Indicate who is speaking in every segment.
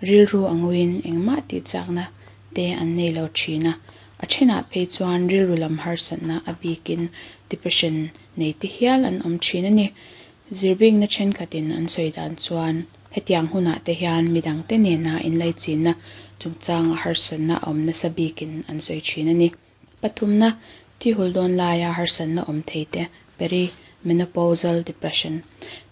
Speaker 1: Rilru a nguiin engmah tih chakna te an nei lo thin a, a thenah phei chuan rilru lam harsatna a bikin depression nei te hial an awm thin a ni. Zirbingna thenkhatin an sawi dan chuan hetiang hunah te hian midangte nena inlaichinna chungchanga harsatna a awm nasa bikin an sawi thin a ni. Pathumna, thi hul dawn laia harsatna awm thei te, perimenopausal depression.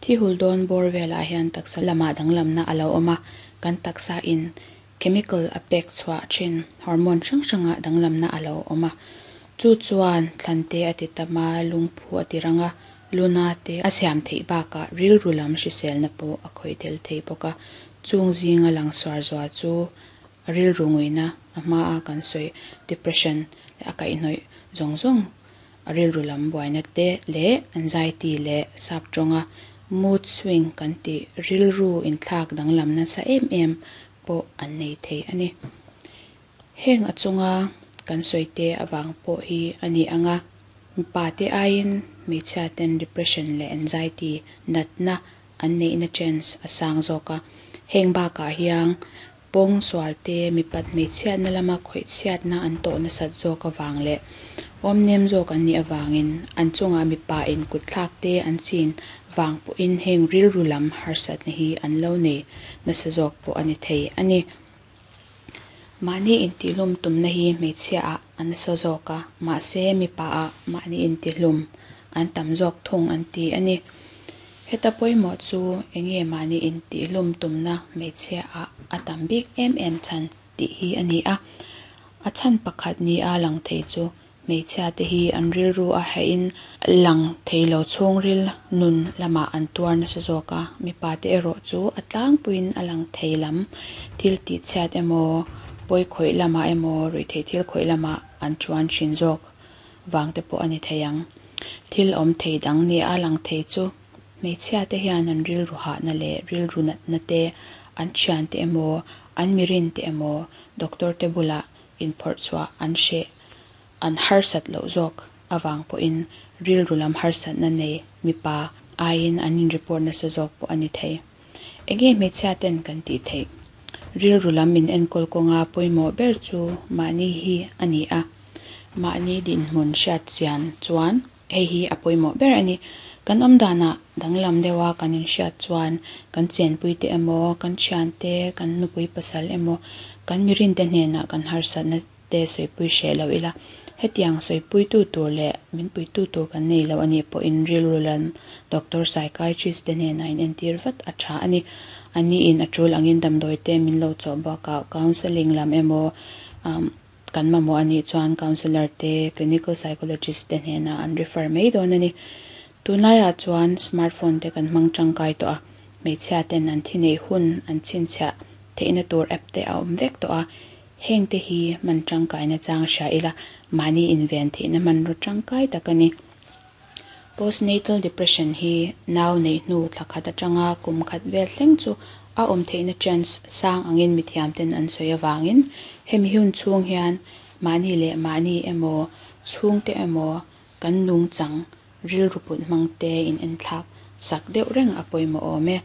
Speaker 1: Thi hul dawn bawr velah hian taksa lamah danglamna a lo awm a, kan taksa in chemical a pek chhuah thin hormone hrang hrangah danglamna a lo awm a. Chu chuan thlan te a ti tam a, lungphu a ti rang a, luna te a siam theih bakah rilru lam hriselna pawh a khawih tel thei bawk a. Chung zinga lang suar zual chu rilru nguina a hmaa kan sawi depression leh a kaihhnawih zawng zawng a rilru lam buaina te leh anxiety leh sap tawnga mood swing kan tih rilru inthlak danglam nasa em em pawh an nei thei a ni. Heng a chunga kan sawi te avang pawh hi a ni ang a, mipa te aiin hmeichhia ten depression leh anxiety natna an neihna chance a sang zawk a. Heng bakah hian pawng sual te mipat hmeichhiatna lama khawihchhiatna an tawh nasat zawk avang leh awmnem zawk an nih avangin an chungah mipa in kutthlak te an chin vang pawhin heng rilru lam harsatna hi an lo nei nasa zawk pawh a ni thei a ni. Mahni intihlum tumna hi hmeichhia ah a nasa zawk a, mahse mipa ah mahni intihlum an tam zawk thung an ti a ni. Heta pawimawh chu enge mahni intihlum tumna hmeichhia ah a tam bik em em chhan tih hi a ni a. A chhan pakhat ni a lang thei chu hmeichhia te hi an rilru a hahin lang thei lo chhungril nun lamah an tuar nasa zawk a, mipa te erawh chu a tlangpuiin a lang thei lam thil tih chhiat emaw pawi khawih lamah emaw ruihtheih thil khawih lamah an chuan thin zawk vang te pawh a ni thei ang. Thil awm thei dang ni a lang thei chu hmeichhia te hian an rilru hahna leh rilru natna te an thian te emaw an mirin te emaw doctor te bulah inphawrh chhuah an hreh an harsat loh zawk avang pawhin rilru lam harsatna nei mipa aiin an in report nasa zawk pawh a ni thei. Enge hmeichhia ten kan tih theih? Rilru lam in enkawl kawnga pawimawh ber chu mahni hi a ni a. Mahni dinhmun hriat chian chuan hei hi a pawimawh ber a ni. Kan awm danah danglam deuha kan inhriat chuan kan chenpui te emaw, kan thian te, kan nupui pasal emaw, kan mirin te hnenah kan harsatna te sawipui hreh lo ila. Hetiang sawipuitu tur leh min puitu tur kan nei lo a nih pawhin rilru lam doctor psychiatrist te hnenah in entir vat a tha a ni. Aniin a tul angin damdawi te min lo chawh bakah counselling lam emaw kan mamawh a nih chuan counsellor te, clinical psychologist te hnenah an refer mai dawn a ni. Tunlaiah chuan smartphone te kan hmang tangkai tawh a, hmeichhia ten an thi neih hun an chhinchhiah theihna tur app te a awm vek tawh a, heng te hi hman tangkaina chang hria ila mahni inven theihna hmanraw tangkai tak a ni. Postnatal depression hi nau neih hnu thla khat atanga kum khat vel thleng chu a awm theihna chance sang angin mithiam ten an sawi avangin hemi hun chhung hian mahni leh mahni emaw chhungte emaw kan nungchang rilru put hmang te in enthlak sak deuh reng a pawimawh awm e.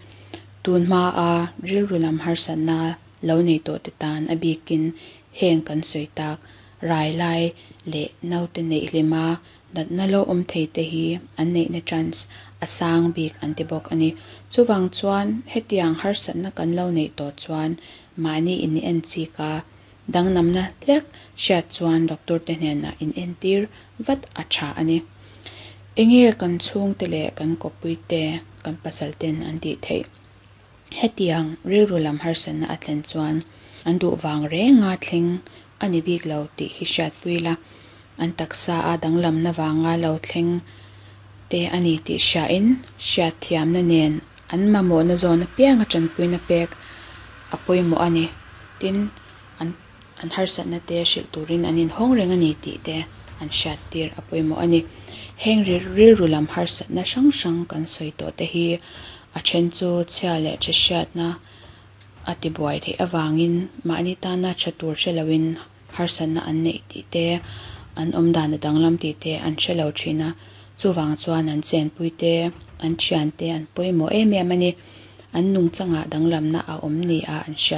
Speaker 1: Tun hmaa rilru lam harsatna lo nei tawh te tan a bikin heng kan sawi tak rai lai leh naute neih hlima natna lo awm thei te hi an neihna chance a sang bik an ti bawk a ni. Chuvang chuan hetiang harsatna kan lo neih tawh chuan mahni in en chik a, danglamna hlek hriat chuan doctor te hnenah in entir vat a tha a ni. Enge kan chhungte leh kan kawppui te kan pasal ten an tih theih? Hetiang rilru lam harsatna a thlen chuan an duh vang renga thleng a ni bik lo tih hi hriatpui la, an taksa a danglamna vanga lo thleng te a ni tih hriain hriatthiamna nen an mamawhna zawn apianga tanpuina pek a pawimawh a ni. Tin, an an harsatna te hrilh turin an inhawng reng a ni tih te an hriattir a pawimawh a ni. Heng rilru lam harsatna hrang hrang kan sawi tawh te hi a then chu chhia leh tha hriatna a tibuai theih avangin mahni tana tha tur hre loin harsatna an neih tih te, an awm dan a danglam tih te an hre lo thin a. Chuvang chuan an chenpui te, an thian te an pawimawh em em a ni. An nungchangah danglamna a awm ni a an hriat.